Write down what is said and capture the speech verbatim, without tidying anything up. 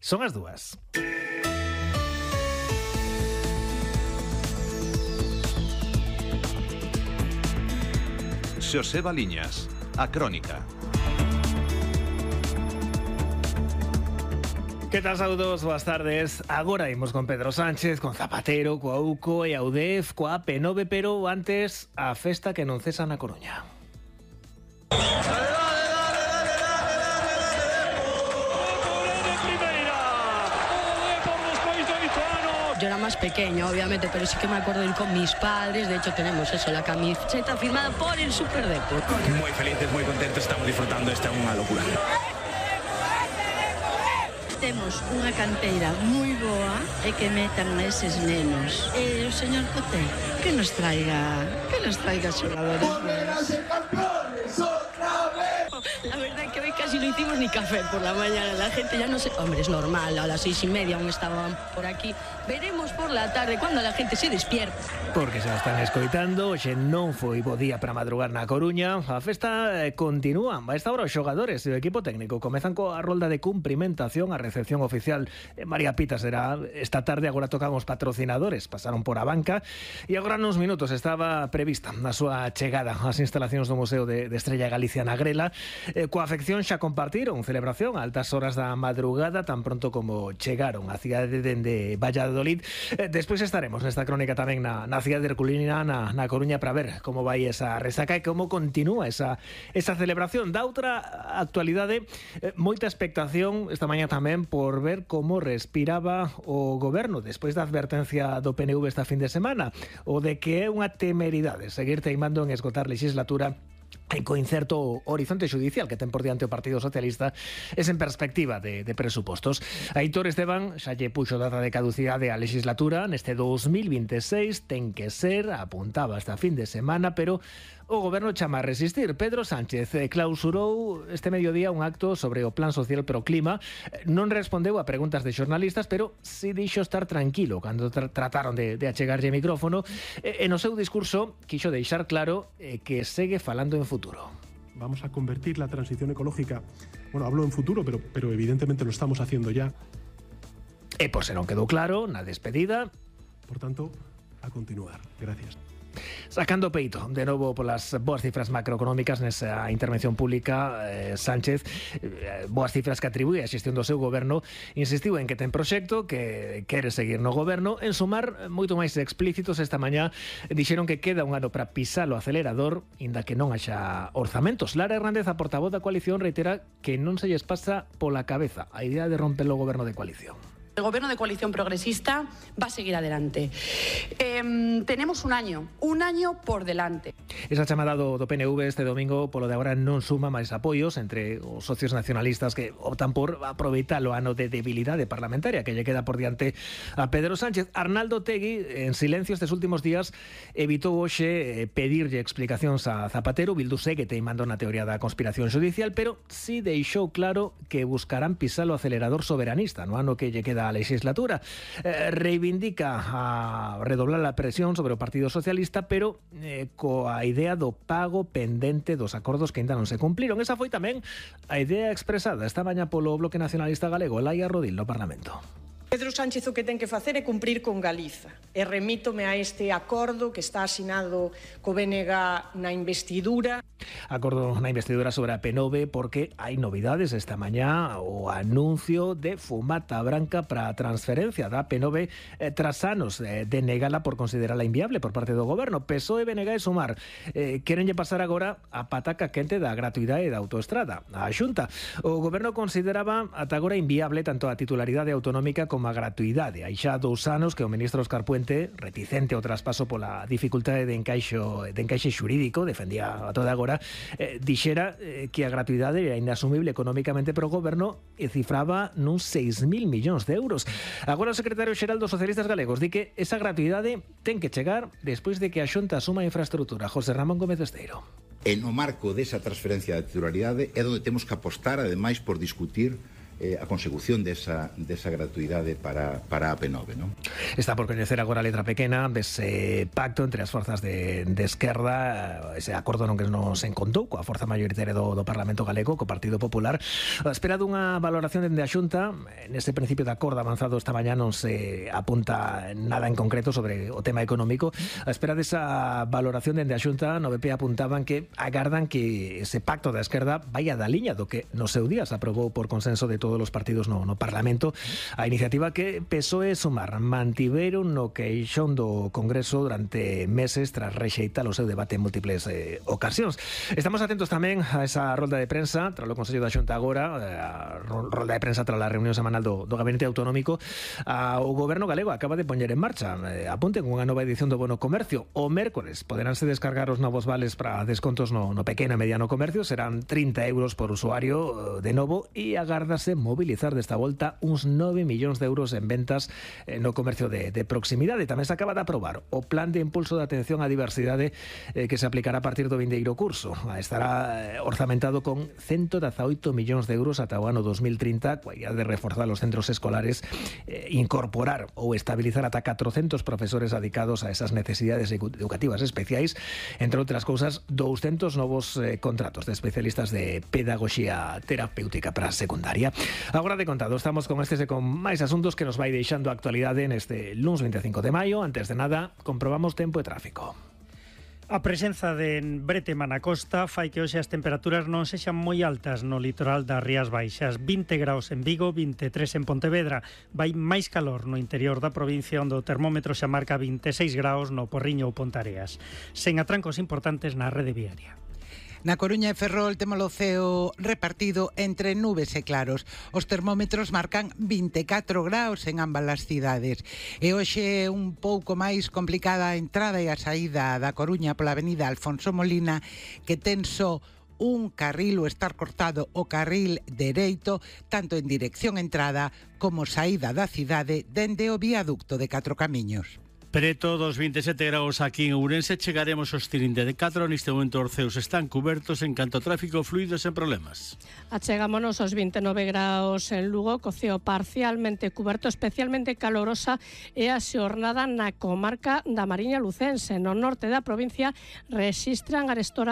Son as dúas. Xosé Baliñas, a Crónica. Que tal, saúdos, boas tardes. Agora imos con Pedro Sánchez, con Zapatero, coa U C O e a U D E F, coa P nove, pero antes a festa que non cesa na Coruña. Yo era más pequeña, obviamente, pero sí que me acuerdo de ir con mis padres. De hecho, tenemos eso, la camiseta firmada por el Superdepo. Muy felices, muy contentos, estamos disfrutando, esta é unha locura. Temos unha canteira moi boa e que metan a eses nenos. E o señor Coté, que nos traiga, que nos traiga xogadores buenos. La verdad es que hoy casi no hicimos ni café por la mañana. La gente ya no sé... Hombre, es normal, a las seis y media aún estaban por aquí. Veremos por la tarde cuando la gente se despierta. Porque xa están escoitando, xe non foi bo día para madrugar na Coruña. A festa eh, continúa. A esta hora os xogadores e o equipo técnico comezan coa rolda de cumprimentación. A recepción oficial eh, María Pita será esta tarde. Agora tocan os patrocinadores, pasaron por a banca e agora nos minutos estaba prevista a súa chegada ás instalacións do Museo de, de Estrella Galicia na Grela. Eh, coa afección xa compartiron celebración a altas horas da madrugada, tan pronto como chegaron á cidade dende Valladolid. Eh, despois estaremos nesta crónica tamén na, na cidade de Herculina, na, na Coruña, para ver como vai esa resaca e como continúa esa, esa celebración. Da outra actualidade, eh, moita expectación esta mañá tamén por ver como respiraba o goberno despois da advertencia do P N V esta fin de semana, o de que é unha temeridade seguir teimando en esgotar legislatura e co incerto horizonte xudicial que ten por diante o Partido Socialista es en perspectiva de, de presupostos. Aitor Esteban xa lle puxo data de caducidade á legislatura neste dos mil veintiséis, ten que ser, apuntaba esta fin de semana, pero o goberno chama a resistir. Pedro Sánchez clausurou este mediodía un acto sobre o Plan Social Pro Clima. Non respondeu a preguntas de xornalistas, pero si dixo estar tranquilo cando tra trataron de, de achegarlle micrófono. E, e no seu discurso quixo deixar claro eh, que segue falando en futuro. Vamos a convertir la transición ecológica, bueno, hablo en futuro, pero, pero evidentemente lo estamos haciendo ya. E por se non quedou claro, na despedida... Por tanto, a continuar. Gracias. Sacando peito de novo polas boas cifras macroeconómicas nesa intervención pública, eh, Sánchez, eh, boas cifras que atribúe a xestión do seu goberno, insistiu en que ten proxecto, que quere seguir no goberno. En sumar, moito máis explícitos, esta mañá dixeron que queda un ano para pisar o acelerador, inda que non haxa orzamentos. Lara Hernández, a portavoz da coalición, reitera que non se lles pasa pola cabeza a idea de romper o goberno de coalición. El gobierno de coalición progresista va a seguir adelante. Eh, tenemos un año, un año por delante. Esa chamada do, do P N V este domingo polo de agora non suma máis apoios entre os socios nacionalistas que optan por aproveitar o ano de debilidade parlamentaria que lle queda por diante a Pedro Sánchez. Arnaldo Tegui, en silencio estes últimos días, evitou hoxe pedirlle explicacións a Zapatero. Bildu segue teimando na teoría da conspiración judicial, pero si deixou claro que buscarán pisar o acelerador soberanista no ano que lle queda a legislatura. Eh, reivindica a redoblar a presión sobre o Partido Socialista, pero eh, coa idea do pago pendente dos acordos que ainda non se cumpliron. Esa foi tamén a idea expresada esta mañá polo Bloque Nacionalista Galego, Laia Rodil, no Parlamento. Pedro Sánchez o que ten que facer é cumprir con Galiza. E remítome a este acordo que está asinado co B N G na investidura. Acordo na investidura sobre a P nove porque hai novidades esta mañá, o anuncio de fumata branca para a transferencia da P nove eh, tras anos eh, de negala por considerarla inviable por parte do goberno. P S O E, B N G e Sumar eh, querenlle pasar agora a pataca quente da gratuidade da autoestrada. A Xunta, o goberno consideraba ata agora inviable tanto a titularidade autonómica como a gratuidade. Hai xa dous anos que o ministro Óscar Puente, reticente ao traspaso pola dificultade de encaixo de encaixe xurídico, defendía a toda agora, eh, dixera eh, que a gratuidade era inasumible económicamente para o goberno e cifraba nuns seis mil millóns de euros. Agora o secretario xeral dos socialistas galegos di que esa gratuidade ten que chegar despois de que a Xunta asuma a infraestrutura. José Ramón Gómez Esteiro. E no marco desa transferencia de titularidade é onde temos que apostar, ademais, por discutir eh, a consecución desa, desa gratuidade para, para a P nove, non? Está por coñecer agora a letra pequena dese pacto entre as forzas de, de esquerda, ese acordo non que nos encontou coa forza maioritaria do, do Parlamento Galego, co Partido Popular, a espera dunha valoración dende a Xunta. Neste principio de acordo avanzado esta mañá non se apunta nada en concreto sobre o tema económico. A espera desa valoración dende a Xunta, no B P apuntaban que agardan que ese pacto da esquerda vaya da liña do que no seu día se aprobou por consenso de todos os partidos no, no Parlamento, a iniciativa que P S O E e Sumar mantiveron no queixón do Congreso durante meses tras rexeitar o seu debate en múltiples eh, ocasións. Estamos atentos tamén a esa rolda de prensa tras o Consello da Xunta agora, a rolda de prensa tras a reunión semanal do, do Gabinete Autonómico. A, o Goberno galego acaba de poñer en marcha, eh, apunten unha nova edición do Bono Comercio. O mércores poderánse descargar os novos vales para descontos no, no pequeno e mediano comercio, serán trinta euros por usuario de novo, e agárdase mobilizar desta volta uns nove millóns de euros en ventas eh, no comercio de, de proximidade. Tamén se acaba de aprobar o plan de impulso de atención á diversidade eh, que se aplicará a partir do vindeiro curso. Estará eh, orzamentado con ciento dezaoito millóns de euros ata o ano dos mil trinta, coa idea de reforzar os centros escolares, eh, incorporar ou estabilizar ata catrocentos profesores dedicados a esas necesidades educativas especiais, entre outras cousas, douscentos novos eh, contratos de especialistas de pedagogía terapéutica para a secundaria. Agora de contado, estamos con estes e con máis asuntos que nos vai deixando a actualidade neste luns veinticinco de maio. Antes de nada, comprobamos tempo e tráfico. A presenza de bretema na costa fai que hoxe as temperaturas non sexan moi altas no litoral das Rías Baixas. vinte graus en Vigo, vinte e tres en Pontevedra. Vai máis calor no interior da provincia, onde o termómetro xa marca vinte e seis graus no Porriño ou Pontareas. Sen atrancos importantes na rede viaria. Na Coruña e Ferrol temos o ceo repartido entre nubes e claros. Os termómetros marcan vinte e catro graus en ambas as cidades. E hoxe é un pouco máis complicada a entrada e a saída da Coruña pola avenida Alfonso Molina, que ten só un carril, o estar cortado o carril dereito, tanto en dirección entrada como saída da cidade dende o viaducto de Catro Camiños. Preto dos vinte e sete graus aquí en Ourense, chegaremos aos trinta e catro. Neste momento os ceos están cubertos en canto a tráfico fluido sen problemas. Achegámonos aos vinte e nove graus en Lugo, co ceo parcialmente cuberto, especialmente calorosa e a xornada na comarca da Mariña Lucense. No norte da provincia rexistran arestora